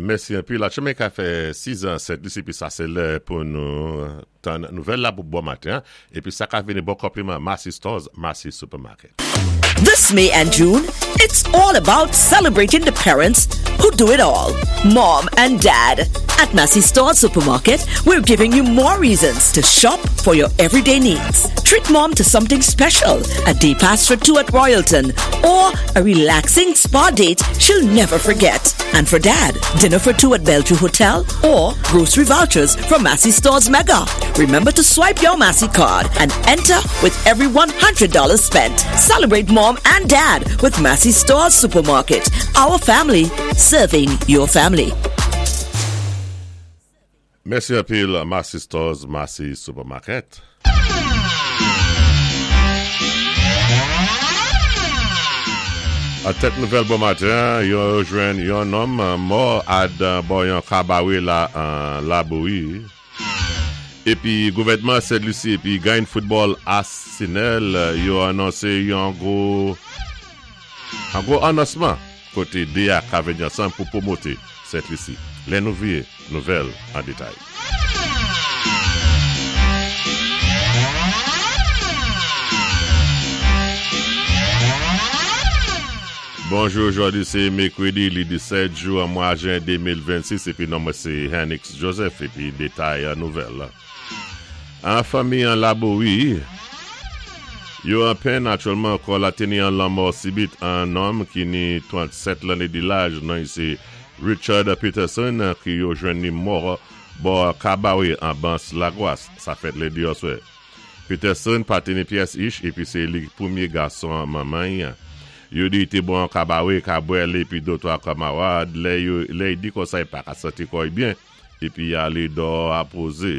Mèsi anpil. Aktyèlman ka fè 6 zè 7 lis epi sa se lè pou nou tann nouvèl la pou bon maten an epi sa ka vini bon konpliman Massy Stores, Massy Supermarket. This May and June, it's all about celebrating the parents who do it all, mom and dad. At Massy Stores Supermarket, we're giving you more reasons to shop for your everyday needs. Treat mom to something special, a day pass for two at Royalton, or a relaxing spa date she'll never forget. And for dad, dinner for two at Bellevue Hotel or grocery vouchers from Massy Stores Mega. Remember to swipe your Massy card and enter with every $100 spent. Celebrate mom and dad with Massy Stores Supermarket. Our family serving your family. Mèsi anpil Massy Stores, Massy Supermarket. An tèt nouvèl bon maten an, yo jwenn yon nonm mò ad bò yon kabarè la an Labouyi. Epi gouvènman Sent Lisi epi gany foutbòl Arsenal yo anonse yon gwo An gwo anonsman kote 2 a ka vini ansanm pou pwomote Sent Lisi. Lè nou vire, nouvèl an detay. Bonjou, jodi se mekredi li 17 jou an mwa jen 2026 epi non mwen se Hennix Joseph epi detay nouvèl. An fanmi an Labouri, yo an penn aktyèlman kò la teni an lanmò sibit an nonm ki ni 37 lanne di laj non i se Richard Peterson ki yo jwenn ni mò bò Kabawe an Bans Lagwas sa fèt lendi oswè. Peterson pa teni pyès ich epi se li ki premye gason manman i. Yo di i te bon an Kabawe ka bwè l epi dotwa kamarad lè yo lè i di konsa i pa ka santi kò i byen. Epi ale dò a poze.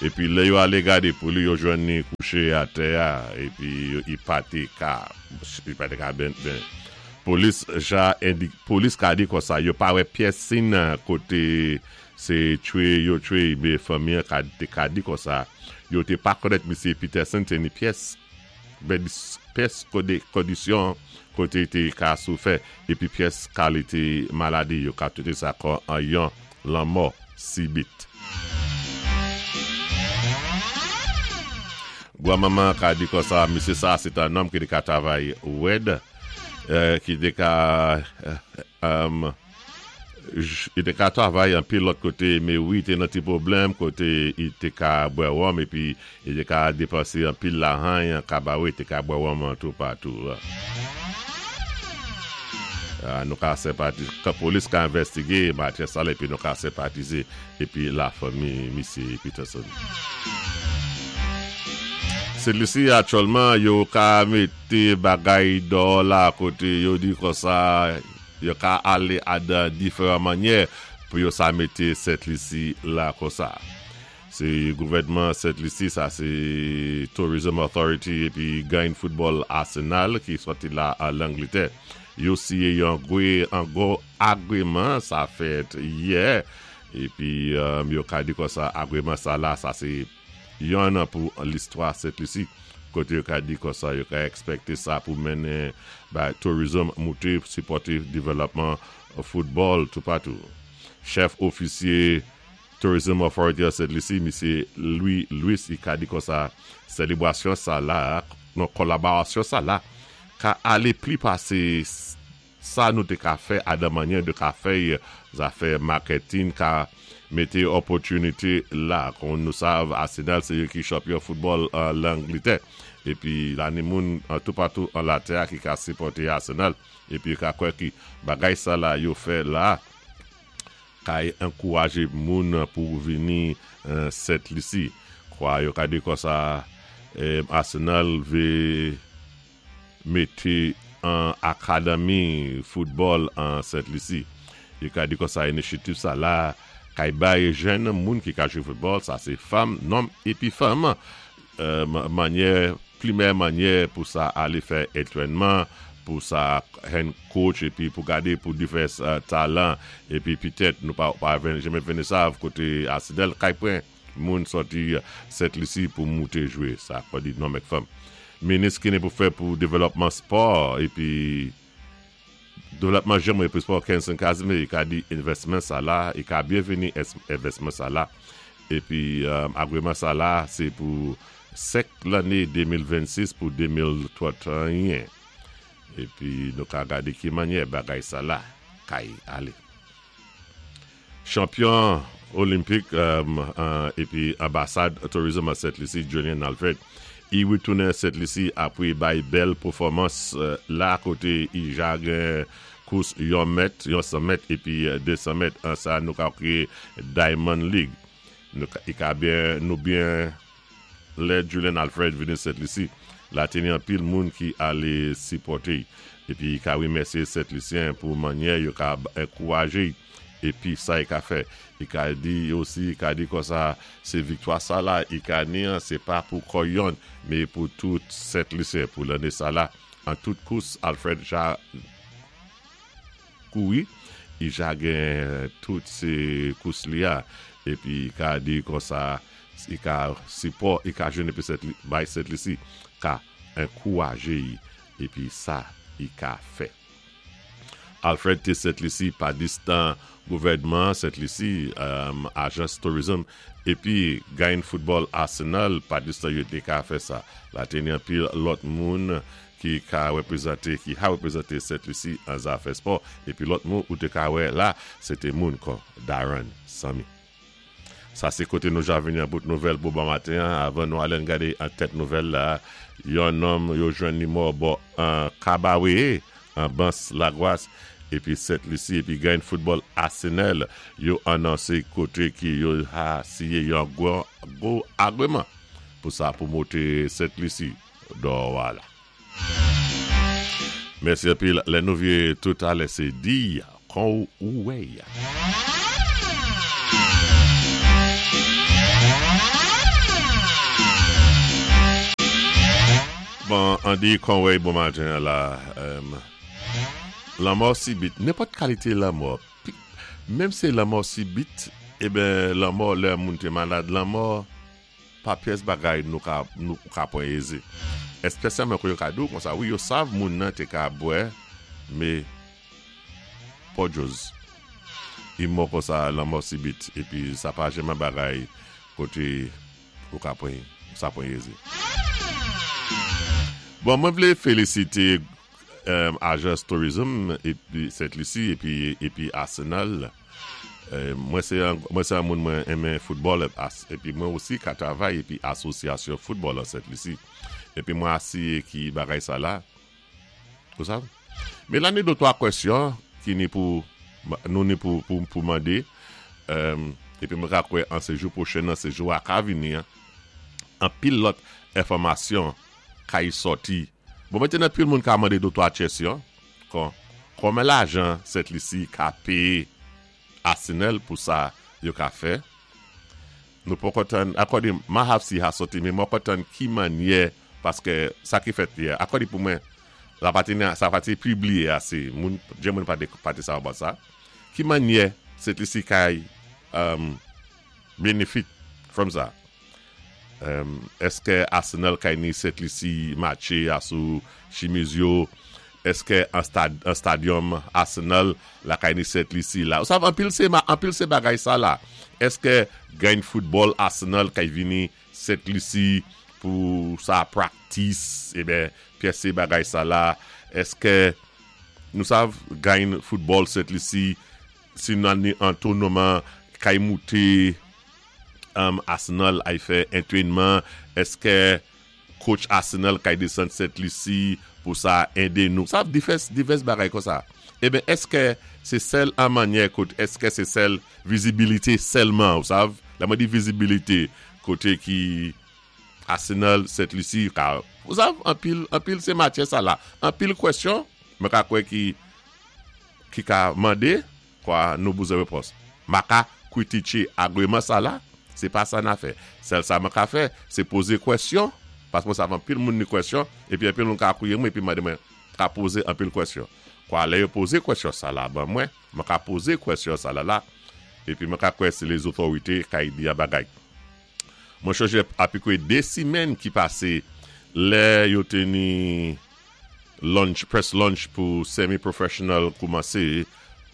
Epi lè yo ale gade pou li, yo jwenn li kouche atè a, epi li pa te ka, li pa te ka ben, ben. Polis ja endik, polis ka di konsa, yo pa wè pyès sin kote se tchwe yo tchwe li, men fanmi an ka te ka di konsa, yo te pa konèt misye Peterson te ni pyès. Pyès kondisyon kote te ka soufè epi pyès kalite maladi yo ka trete sa kon an yon lanmò sibit. Gwa manman ka di konsa misye sa se ta nonm ki te ka travay wèd ki te ka Li te ka travay anpil lòt kote, me wi te nan ti pwoblèm kote li te ka bwè wonm epi li te ka depanse anpil lahany an kabare, te ka bwè wonm an toupatou. Nou ka senpati, kan polis ka envèstige matyè sa la epi nou ka senpatize epi lafanmi misye Peterson. Selisi aktyèlman yo ka mete bagay dò la kote yo di konsa. Yo ka ale a dan diferan mannyè pou yo sa mete Sent Lisi la konsa. Se gouvènman Sent Lisi sa se Tourism Authority epi gany foutbòl Arsenal ki sòti la a Langlitè. Yo siye yon gwe an gwo agreman sa fèt yè epi yo ka di konsa agreman sa la sa se Yonn pou listwa Sent Lisi, kote yo ka di konsa yo ka ekspekte sa pou mennen bay tourism moute sipòte developman foutbòl toupatou. Chèf ofisye Tourism Authority of Sent Lisi, Misye Louis Louis i ka di konsa selebrasyon sa la, non kolaborasyon sa la ka ale pli pase Sa nou te ka fè a dan manyè de ka fèy zafè marketing ka mete opportunity la kon nou sav Arsenal se yo ki chanpyon football an Langlitè epi la ni moun toupatou an latè a ki ka sipòte Arsenal epi yo ka kwè ki bagay sa la yo fè la kay ankouraje moun pou vini Sent Lisi kwa yo ka di konsa Arsenal ve mete an akademi foutbòl an Sent Lisi. Yo ka di konsa inisyativ sa la kay bay jèn moun ki ka jwe foutbòl, sa se fanm, nonm epi fanm, manyè, plimè manyè pou sa ale fè entrènman, pou sa hen coach epi pou gade pou divès talan epi pitèt nou pa pa jamè vene sav kote Arsenal kay pran moun sòti Sent Lisi pou moute jwe sa kò di nonm ek fanm. Minis ki ni pou fè pou devèlòpman spò épi devlòpman jèn épi spò Kenson Casimir i ka di envèsman sa la i ka byenvini envèsman sa la épi agreman sa la sé pou 5 lanné 2026 pou 2031 épi nou ka gadé ki mannyè bagay sa la kay alé. Chanpyon Olimpik epi anbasad tourism an Sent Lisi Julian Alfred i retounen Sent Lisi apre bay bèl pefòmans la kote i ja gen kous yon mèt, yon 100 mèt epi 200 mèt an sa nou ka kriye Diamond League. Nou i ka byen nou byen Lè Julian Alfred vini Sent Lisi, la te ni anpil moun ki ale sipòte y. Epi y ka remèsye Sent Lisyen pou mannyè yo ka ankouraje y epi sa y ka fè. Y ka di osi, y ka di konsa, se viktwa sa la y ka ni an, se pa pou kò yonn, me pou tout Sent Lisyen. Pou lanne sa la, an tout kous Alfred ja Kouri, i ja gen tout se kous li a, epi i ka di konsa, i ka sipò i ka jwenn epi Sent bay Sent Lisi ka ankouraje i epi sa i ka fè. Alfred te Sent Lisi pa distan gouvènman Sent Lisi, ajans tourism epi gayn foutbòl Arsenal pa distan yo te ka fè sa. La te ni anpil lòt moun ki ka reprezante, ki ha reprezante Sent Lisi an zafè spò, epi lòt moun ou te ka wè la, se te moun kon Darren Sammy. Sa se kote nou ja vini an bout nouvèl pou bon maten an, avan nou ale ann gade an tèt nouvèl la, yon nonm yo jwenn li mò bò an Kabawee, an Bans Lagwas, epi Sent Lisi epi gany foutbòl Asenèl yo anonse kote ki yo ha siye yon gwo agreman pou sa pwomote Sent Lisi. Dò wa la. Mèsi anpil lè nou vye tout alè se di kon ou wè ya. Bon Andy Conway bon maten an la lanmò sibit nenpòt kalite lanmò menm se lanmò sibit eben lanmò lè moun te malad lanmò Pa pyès bagay nou ka nou ka pran eze. Espesyalman kou yo ka di w konsa wi yo sav moun nan te ka bwè me pòdjoz. I mò konsa lanmò sibit epi sa pa janman bagay kote ou ka pran sa pran eze. Bon mwen vle felisite ajans tourism epi Sent Lisi epi epi Arsenal. Mwen se mwen se yon moun mwen enmen foutbòl epi mwen osi ka travay epi asosyasyon foutbòl an Sent Lisi epi mwen asiye ki bagay sa la ou sav men la ni de twa kwèsyon ki ni pou nou ni pou pou mande epi mwen ka kwè an se jou pwochen an se jou a ka vini an anpil lòt enfòmasyon kay sòti bon mètenan anpil moun ka mande de twa chèsyon. Kon, konben lajan Sent Lisi ka peye Arsenal pou sa yo ka fè? Nou poko tann, akòde ma haf si ha soti men mwen tann ki mannyè paske sa ki fèt yè, akòde pou mwen la pa te sa pa te pibliye ase, moun, jen moun pa te pa te sa about sa. Ki mannyè Sent Lisi kay um, benefit from sa? Eske Arsenal kay ni Sent Lisi matche a sou chimiz yo? Eske an stadium Arsenal la kay ni Sent Lisi la? Ou sav anpil se anpil se bagay sa la. Eske gany football Arsenal kay vini Sent Lisi pou sa practice eben pyès se bagay sa la. Eske nou sav gany football Sent Lisi si nan ni an tournament kay moute Arsenal ay fè entrenman eske coach Arsenal kay desann Sent Lisi pou sa ede nou sa divès divès bagay konsa eben eske se sèl an manyè kot eske se sèl vizibilite sèlman ou sav lè mwen di vizibilite kote ki Arsenal Sent Lisi ka ou sav anpil anpil se matyè sa la anpil kwèsyon mwen ka kwè ki ki ka mande. Kwa nou bouzen repons. Ma ka kritiche agreman sa la, se pa sa na fè. Sèl sa mwen ka fè, se poze kwèsyon, paske mwen sav anpil moun ni kwèsyon, epi anpil moun ka kriye mwen epi mande mwen ka poze anpil kwèsyon. Kwa lè yo poze kwèsyon sa la ban mwen, mwen ka poze kwèsyon sa la la, epi mwen ka kwè se lezotorite kay di a bagay. Mwen chonje apikwe 2 simenn ki pase, Lè yo té ni launch, press launch pou semi-professional koumansé,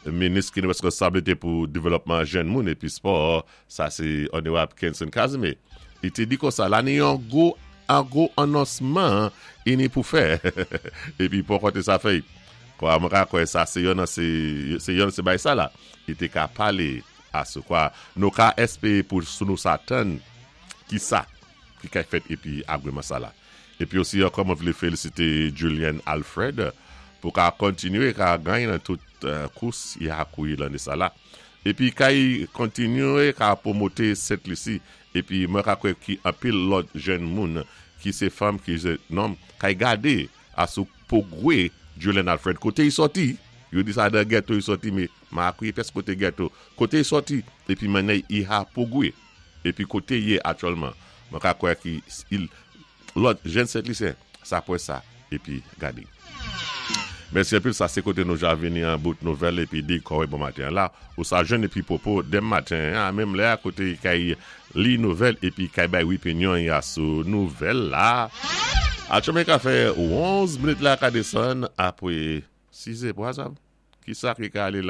minis ki ni wèskonsabilité pou dévelopman jèn moun épi spò, sa sé Onorab Kenson Casimir, i té di konsa la ni yon gwo an gwo anonsman i ni pou fè épi poko té sa fèy. Kwa mwen ka kwè sa sé yon nan sé sé yon sé bay sa la i té ka palé a sou kwa nou ka èspéré pou sou nou sa tann ki sa ki kay fèt épi agweman sa la. Épi osi ankò mwen vlé félisité Julian Alfred pou ka kontinyé ka gany nan tout kous i ha kouri lanné sa la. Épi kay kontinyé ka pwomoté Sent Lisi épi mwen ka kwè ki anpil lòt jèn moun ki sé fanm ki sé nonm kay gadé a sou pwogwé Julian Alfred koté i sòti yo di sa dan gèto i sòti mé ma akwiye pyès koté gèto koté i sòti épi mannè i ha pwogwé. Epi kote ye aktyèlman mwen ka kwè ki il lòt jèn sentlisyen sa pwè sa epi gade. Mèsi anpil sa se kote nou ja vini an bout nouvèl epi di kòwè bon maten an la ou sa jwenn epi pwopo dem maten an menm lè a kote kay li nouvèl epi kay bay wipinyon ya sou nouvèl la aktyèlman ka fè 11 minit la ka desann apre 6 e pwa sa kisa ki ka ale la.